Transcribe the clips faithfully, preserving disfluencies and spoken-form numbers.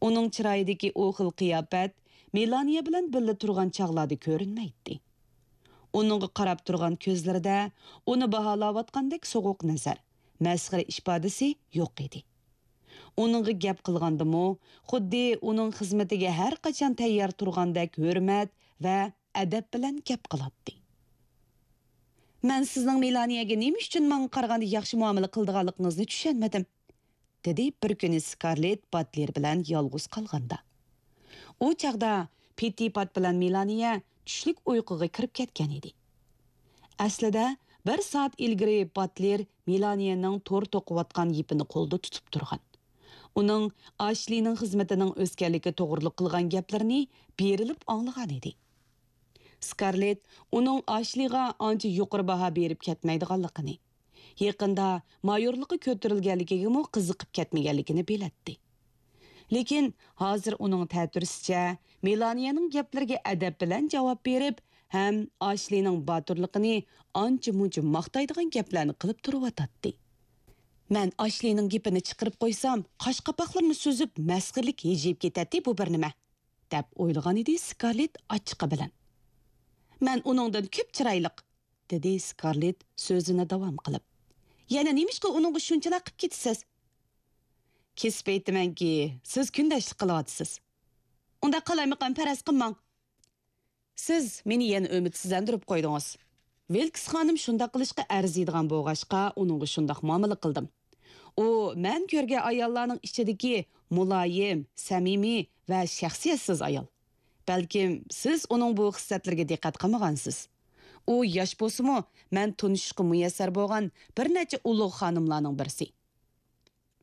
ئۇنىڭ چىرايىدىكى ئۇ خىل قىياپەت مېلانىيە بىلەن بىللە تۇرغان چاغلاردا كۆرۈنمەيتتى. ئۇنىڭغا قاراپ تۇرغان كۆزلىرىدە ئۇنى باھالاۋاتقاندەك سوغۇق نەزەر، مەسخىرە ئىپادىسى يوق ئىدى. ئۇنىڭغا گەپ قىلغاندىمۇ، خۇددى ئۇنىڭ خىزمىتىگە ھەر قاچان تەييار تۇرغاندەك ھۆرمەت ۋە ئەدەپ بىلەن گەپ قىلاتتى. «مەن سىزنىڭ مېلانىيەگە نېمە ئۈچۈن ماڭا قارىغاندا ياخشى مۇئامىلە قىلىدىغانلىقىڭىزنى چۈشەنمىدىم»، دېدى بىر كۈنى سكارلېت باتلېر بىلەن يالغۇز قالغاندا. ئۇ چاغدا پىتتىپات بىلەن مېلانىيە چۈشلۈك ئۇيقۇغا كىرىپ كەتكەن ئىدى. ئەسلىدە، بىر سائەت ئىلگىرى باتلېر مېلانىيەنىڭ تور توقۇۋاتقان يىپىنى قولىدا تۇتۇپ تۇرغان. ئۇنىڭ ئاشلىنىڭ خىزمىتىنىڭ ئۆسكەنلىكى توغرىلىق قىلغان گەپلىرىنى بېرىلىپ ئاڭلىغان ئىدى. سكارلېت ئۇنىڭ ئاشلىغا ئانچە يۇقىرى باھا بېرىپ كەتمەيدىغانلىقىنى، يېقىندا مايورلۇققا كۆتۈرۈلگەنلىكىگىمۇ قىزىقىپ كەتمىگەنلىكىنى بىلەتتى. لېكىن ھازىر ئۇنىڭ تەتۈرىسىچە، مېلانىيەنىڭ گەپلىرىگە ئەدەپ بىلەن جاۋاب بېرىپ ھەم ئاشلىنىڭ باتۇرلۇقىنى ئانچە-مۇنچە ماختايدىغان گەپلەرنى قىلىپ تۇرۇۋاتاتتى. «مەن ئاشلىنىڭ گېپىنى چىقىرىپ قويسام، قاش-قاپاقلىرىنى سۈزۈپ، مەسخىرىلىك ھىجىيىپ كېتەتتى بۇ بىر نېمە»، دەپ ئويلىغان ئىدى سكارلېت ئاچچىقى بىلەن. «مەن ئۇنىڭدىن كۆپ چىرايلىق»، دېدى سكارلېت سۆزىنى داۋام قىلىپ. «يەنە نېمىشقا ئۇنىڭغا شۇنچىلا قىپ كېتىسىز؟» «كېسىپ ئېيتىمەنكى، سىز كۈندەشلىك قىلىۋاتىسىز.» «ئۇنداق قالايمىقان، پەرەز قىلماڭ.» «سىز مېنى يەنە ئۈمىدسىزلەندۈرۈپ قويدىڭىز. ۋىلكس خانىم شۇنداق قىلىشقا ئەرزىيدىغان بولغاچقا، ئۇنىڭغا شۇنداق مۇئامىلە قىلدىم. ئۇ مەن كۆرگەن ئاياللارنىڭ ئىچىدىكى مۇلايىم، سەمىمىي ۋە شەخسىيەتسىز ئايال. بەلكىم سىز ئۇنىڭ بۇ خىسلەتلىرىگە دىققەت قىلمىغانسىز. ئۇ ياش بولسىمۇ، مەن تونۇشۇشقا مۇيەسسەر بولغان بىر نەچچە ئۇلۇغ خانىملارنىڭ بىرسى.»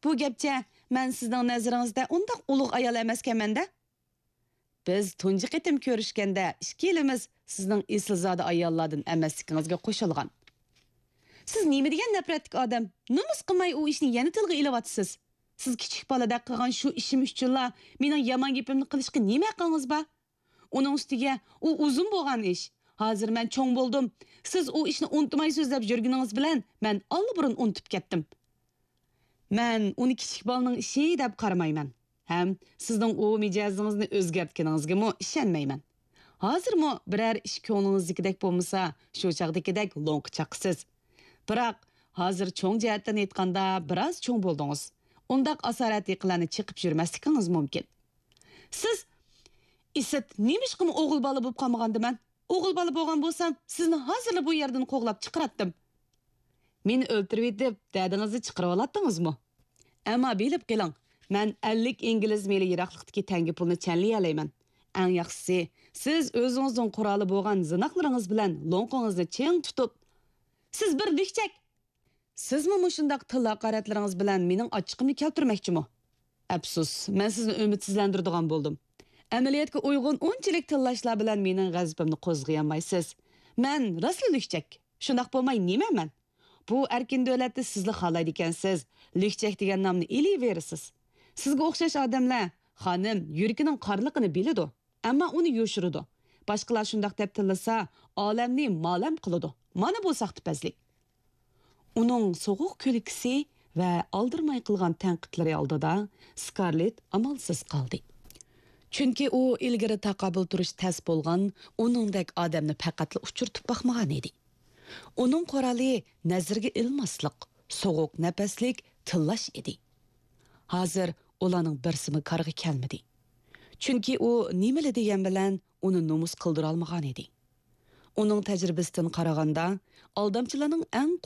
«بۇ گەپچە، مەن سىزنىڭ نەزىرىڭىزدە ئۇنداق ئۇلۇغ ئايال ئەمەسكەنمەن-دە.» «بىز تۇنجى قېتىم كۆرۈشكەندە، ئىككىيلىمىز سىزنىڭ ئېسىلزادە ئاياللاردىن ئەمەسلىكىڭىزگە قوشۇلغان.» «سىز نېمە دېگەن نەپرەتلىك ئادەم! نومۇس قىلماي ئۇ ئىشنى يەنە تىلغا ئېلىۋاتىسىز. سىز كىچىك بالىدەك قىلغان شۇ ئىشىم ئۈچۈنلا مېنىڭ يامان گېپىمنى قىلىشقا نېمە ھەققىڭىز بار؟ ئۇنىڭ ئۈستىگە ئۇ ئۇزۇن بولغان ئىش. ھازىر مەن چوڭ بولدۇم. سىز ئۇ ئىشنى ئۇنتۇمايسىز دەپ يۈرگىنىڭىز بىلەن مەن ئاللىبۇرۇن ئۇنتۇپ كەتتىم.» «مەن ئۇنى كىچىك بالىنىڭ ئىشى دەپ قارىمايمەن. ھەم سىزنىڭ ئۇ مىجەزىڭىزنى ئۆزگەرتكىنىڭىزگىمۇ ئىشەنمەيمەن. ھازىرمۇ بىرەر ئىش كۆڭلىڭىزدىكىدەك بولمىسا، شۇ چاغدىكىدەك لوڭقا چاقىسىز. بىراق، ھازىر چوڭ جەھەتتىن ئېيتقاندا، بىراز چوڭ بولدىڭىز. ئۇنداق ئاسارەتلىكلەرنى چېقىپ يۈرمەسلىكىڭىز مۇمكىن.» «سىز...» «ئىسىت، نېمىشقىمۇ ئوغۇل بالا بولۇپ قالمىغاندىمەن؟ ئوغۇل بالا بولغان بولسام، سىزنى ھازىرلا بۇ يەردىن قوغلاپ چىقىراتتىم.» «مېنى ئۆلتۈرۈۋېتىپ، دەردىڭىزنى چىقىرىۋالاتتىڭىزمۇ؟ ئەمما بىلىپ قېلىڭ، مەن ئەللىك ئىنگلىز مىلى يىراقلىقتىكى تەڭگە پۇلنى چەنلىيەلەيمەن. ئەڭ ياخشىسى، سىز ئۆزىڭىزنىڭ قورالى بولغان زىناقلىرىڭىز بىلەن لوڭقىڭىزنى چىڭ تۇتۇپ...» «سىز بىر لۈكچەك!» «سىزمۇ مۇشۇنداق تىل ھاقارەتلىرىڭىز بىلەن مېنىڭ ئاچچىقىمنى كەلتۈرمەكچىمۇ؟ ئەپسۇس، مەن سىزنى ئۈمىدسىزلەندۈرىدىغان بولدۇم. ئەمەلىيەتكە ئۇيغۇن ئۇنچىلىك تىللاشلار بىلەن مېنىڭ غەزىپىمنى قوزغىيالمايسىز. مەن راستلا لۈكچەك. شۇنداق بولماي نېمە مەن؟ بۇ ئەركىن دۆلەتتە سىزلا خالايدىكەنسىز، لۈكچەك دېگەن نامنى ئېلىۋېرىسىز. سىزگە ئوخشاش ئادەملەر، خانىم، يۈرىكىنىڭ قارىلىقىنى بىلىدۇ، ئەمما ئۇنى يوشۇرىدۇ. باشقىلار شۇنداق دەپ تىللىسا، ئالەمنى مالەم قىلىدۇ. مانا بۇ ساختىپەزلىك.» ئۇنىڭ سوغۇق كۈلكىسى ۋە ئالدىرىماي قىلغان تەنقىدلىرى ئالدىدا سكارلېت ئامالسىز قالدى. چۈنكى ئۇ ئىلگىرى تاقابىل تۇرۇش تەس بولغان ئۇنىڭدەك ئادەمنى پەقەتلا ئۇچرىتىپ باقمىغان ئىدى. ئۇنىڭ قورالى نەزىرگە ئىلماسلىق، سوغۇق نەپەسلىك تىللاش ئىدى. ھازىر ئۇلارنىڭ بىرسىمۇ كارغا كەلمىدى. چۈنكى ئۇ نېمىلا دېگەن بىلەن ئۇنى نومۇس قىلدۇرالمىغان ئىدى. ئۇنىڭ تەجرىبىسىدىن قارىغاندا، ئالدامچىلارنىڭ ئەڭ